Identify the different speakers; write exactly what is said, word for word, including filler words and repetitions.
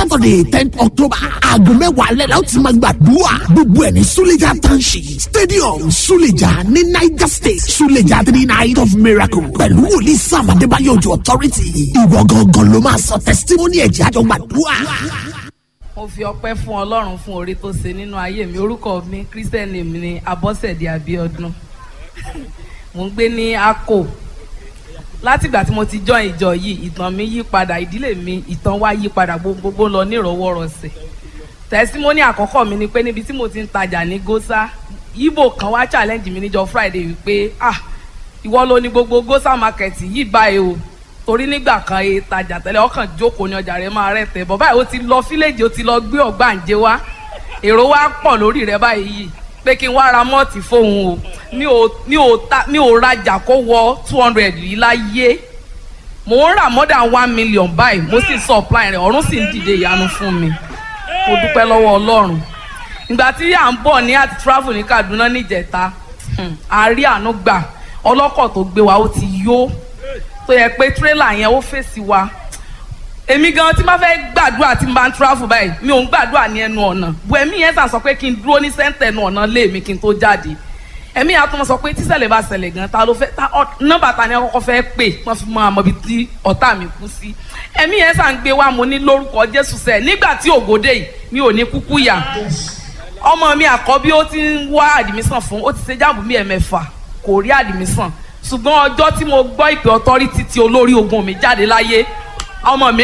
Speaker 1: Saturday ten October aago mẹ́wàá alẹ́ la ó ti máa gbàdúrà. Gbogbo ẹ̀ ní Suleja Township Stadium Suleja ní Niger State Suleja three night of miracle pẹ̀lú wòlíì Sam Adébáyọ̀ Òjó authority. Ìwọ gangan ló máa sọ testimony ẹ̀jẹ̀ àjọ gbàdúrà.
Speaker 2: Mo fi ọpẹ́ fún Ọlọ́run fún oore tó ṣe nínú ayé mi. Orúkọ mi, Christian name ni Abọ́sẹ̀dé Abíọ́dún. Mo ń gbé ní Akko. Látìgbà tí mo ti join ìjọ yìí, ìtàn mi yí padà, ìdílé mi, ìtàn wa yí padà, gbogbogbò lọ nírọ̀wọ́rọ̀sẹ̀. Testimony àkọ́kọ́ mi ni pé níbi tí mo ti ń tajà ní Gósà, Ìgbò kan wá challenge mi níjọ́ Friday wípé, "Ah, ìwọ ló ní gbogbo Gósà market yìí báyìí o," torí nígbà kan e tajà tẹ́lẹ̀, ọkàn jókòó ní ọjà rẹ̀ máa rẹ̀ tẹ̀ bọ̀ báyìí, ó ti lọ fílẹ̀jì, ó ti lọ gbé ọ̀gbàǹjẹ wá, èrò wa pọ̀ lórí rẹ̀ báyìí yìí, pé kí n wá ra mọ́ọ̀tì fóun o. Mi ò mi ò ta, mi ò rajà kó wọ two hundred yìí láyé. Mò ń rà more than one million báyìí, mo sì supply rẹ̀. Ọ̀run sì ń dìde ìyanu fún mi. Mo dúpẹ́ lọ́wọ́ Ọlọ́run. Ìgbà tí à ń bọ̀ ní àti travel ní Kaduna níjẹta, a rí àánú gbà. Ọlọ́kọ̀ tó gbé wa, ó ti yó, tó yẹ pé tírélà yẹn ó fèsì wa. Èmi gan tí n bá fẹ́ gbàdúrà, tí n bá ń travel báyìí, mi ò ń gbàdúrà ní ẹnu ọ̀nà bu. Ẹ̀mí yẹn sàn sọ pé kí n dúró ní sẹ́ńtẹ̀ ẹnu ọ̀nà lé mi kí n tó jáde. Ẹ̀mí yẹn á tún mọ̀ sọ pé tíṣẹ̀lẹ̀ bá ṣẹlẹ̀ gan, ta ló fẹ́ ta nọ́mbà, ta ni akọ́kọ́ fẹ́ pè, wọ́n fi mọ àmọ́ ibi tí ọ̀tá mi kú sí. Ẹ̀mí yẹn sàn gbé wa. Mo ní lórúkọ Jésù sẹ̀, nígbà tí ògòdè yìí, mi ò ní kúkú yà. Ọmọ mi àkọ́bí, ó ti ń wá admission fún, ó ti ṣe JAMB mi ẹ̀mẹ́fà, kò rí admission. Ṣùgbọ́n ọjọ́ tí mo gbọ́ ìpè authority tí olórí ogun mi jáde láyé, ọmọ mi